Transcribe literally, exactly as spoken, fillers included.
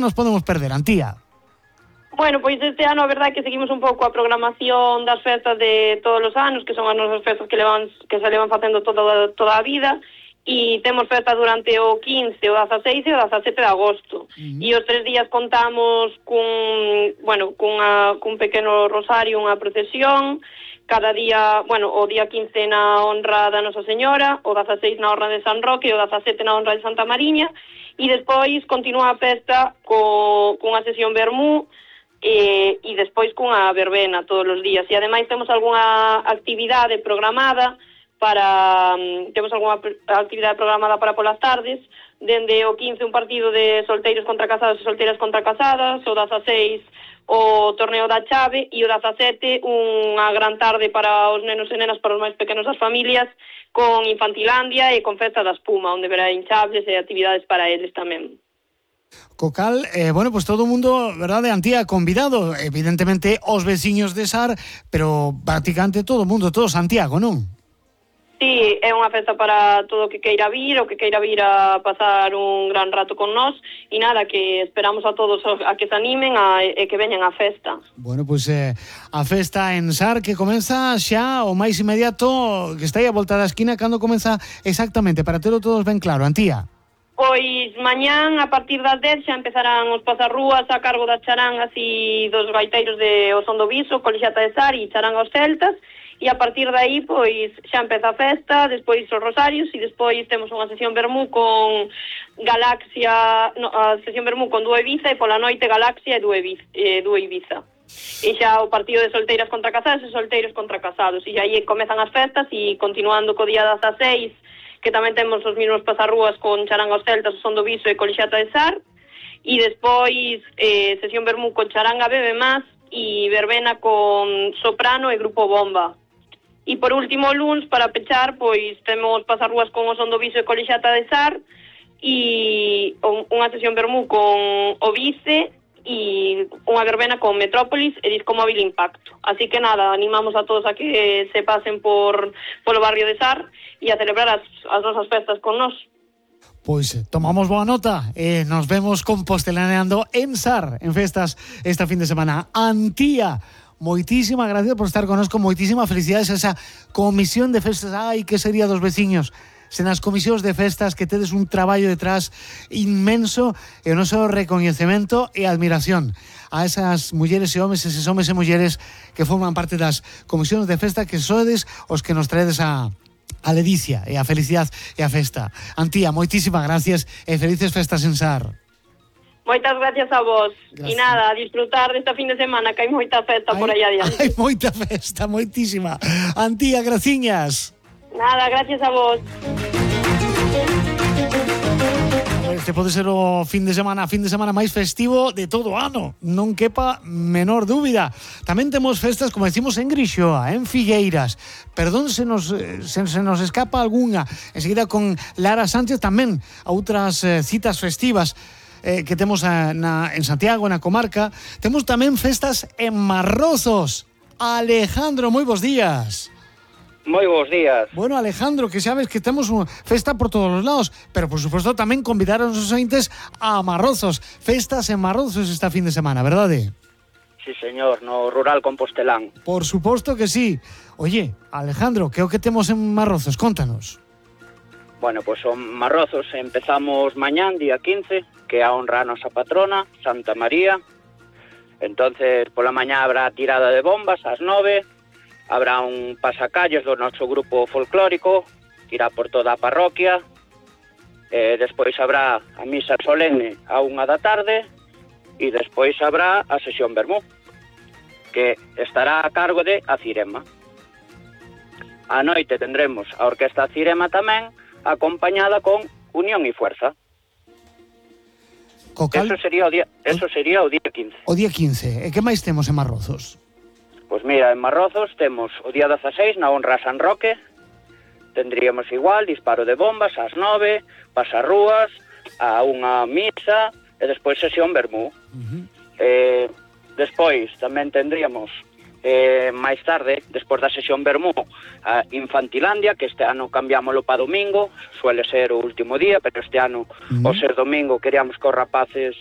nos podemos perder, Antía? Bueno, pois este ano a verdade é que seguimos un pouco a programación das festas de todos os anos, que son as nosas festas que levan que se levan facendo toda, toda a vida, e temos festa durante o quince, o dezaseis e o dezasete de agosto. Uh-huh. E os tres días contamos cun, bueno, cunha, cun pequeno rosario, unha procesión, cada día, bueno, o día quince na honra da Nosa Señora, o dezaseis na honra de San Roque, e o dezasete na honra de Santa Mariña, e despois continúa a festa co, cunha sesión vermú, E, e despois cunha verbena todos os días, e ademais temos algunha actividade programada para temos algunha actividade programada para polas tardes, dende o quince un partido de solteiros contra casados e solteiras contra casadas, o dezaseis o torneo da chave, e o dezasete unha gran tarde para os nenos e nenas, para os máis pequenos das familias, con Infantilandia e con festa da espuma, onde verá hinchables e actividades para eles tamén. Cocal, eh, bueno, pues todo o mundo, verdade, Antía, convidado, evidentemente os veciños de Sar, pero prácticamente todo o mundo, todo Santiago, non? Sí, é unha festa para todo o que queira vir, o que queira vir a pasar un gran rato con nós, e nada, que esperamos a todos a que se animen a, e que veñan á festa. Bueno, pois pues, eh, a festa en Sar que comeza xa o máis inmediato, que está aí a volta da esquina, cando comeza exactamente, para terlo todos ben claro, Antía? Pois mañán, a partir das dez, xa empezarán os pasarrúas a cargo das charangas e dos gaiteiros de O Son do Viso, Colexiata de Sar e Charanga aos Celtas, e a partir de aí, pois, xa empeza a festa, despois os rosarios, e despois temos unha sesión vermú con Galaxia, no, a sesión vermú con Dúo Ibiza, e pola noite Galaxia e Dúo Ibiza. Eh, Dúo Ibiza. E xa o partido de solteiras contra casados e solteiros contra casados, e aí comezan as festas, e continuando co día dezaseis, que tamén temos os mesmos pasarrúas con Charanga aos Celtas, O Son do Viso e Colexiata de Sar, e despois eh, sesión vermú con Charanga Bebe Más e verbena con Soprano e Grupo Bomba. E por último, o luns, para pechar, pois temos pasarrúas con O Son do Viso e Colexiata de Sar, e unha sesión vermú con O Vice e unha verbena con Metrópolis e Disco Móvil Impacto. Así que nada, animamos a todos a que se pasen por polo barrio de Sar e a celebrar as, as nosas festas con nós. Pois tomamos boa nota e eh, nos vemos compostelaneando en Sar en festas esta fin de semana. Antía, moitísimas gracias por estar connosco, moitísimas felicidades a esa comisión de festas. Ai, que sería dos veciños sen as comisións de festas, que tedes un traballo detrás inmenso, e o noso recoñecemento e admiración a esas mulleres e homes, eses homes e mulleres que forman parte das comisións de festa, que sodes os que nos traedes a a ledicia e a felicidade e a festa. Antía, moitísimas gracias e felices festas en Sar. Moitas gracias a vos. E nada, a disfrutar desta fin de semana, que hai moita festa por aí adiante. Hai moita festa, moitísima. Antía, graciñas. Nada, gracias a vos. Este pode ser o fin de semana, fin de semana máis festivo de todo o ano, non quepa menor dúbida. Tamén temos festas, como decimos, en Grixoa, en Figueiras. Perdón se nos, se, se nos escapa algunha. Enseguida con Lara Sánchez tamén a outras eh, citas festivas eh, que temos a, na, en Santiago, na comarca. Temos tamén festas en Marrozos. Alejandro, moi bons días. Moi bons días. Bueno, Alejandro, que sabes que temos unha festa por todos os lados, pero por suposto tamén convidar aos ointes a Marrozos. Festas en Marrozos esta fin de semana, verdade? Sí, señor, no rural compostelán. Por suposto que sí. Oye, Alejandro, que é o que temos en Marrozos? Contanos. Bueno, pois pues, en Marrozos empezamos mañán, día quince, que é a honra a nosa patrona, Santa María. Entonces, pola mañá habrá tirada de bombas ás nove. Habrá un pasacalles do noso grupo folclórico, que irá por toda a parroquia. Eh, despois habrá a misa solemne a unha da tarde, e despois habrá a sesión vermú, que estará a cargo de a Cirema. A noite tendremos a Orquesta Cirema tamén, acompañada con Unión e Fuerza. Cocal... Eso sería o día, eso sería o día quince. O día quince. E que máis temos en Marrozos? Pois mira, en Marrozos temos o día dezaseis na honra a San Roque. Tendríamos igual disparo de bombas ás nove, pasarrúas, a unha misa e despois sesión vermú. Uh-huh. Eh, despois tamén tendríamos eh, máis tarde, despois da sesión vermú, a Infantilandia, que este ano cambiámoslo para domingo, suele ser o último día, pero este ano, uh-huh, o ser domingo, queríamos que os rapaces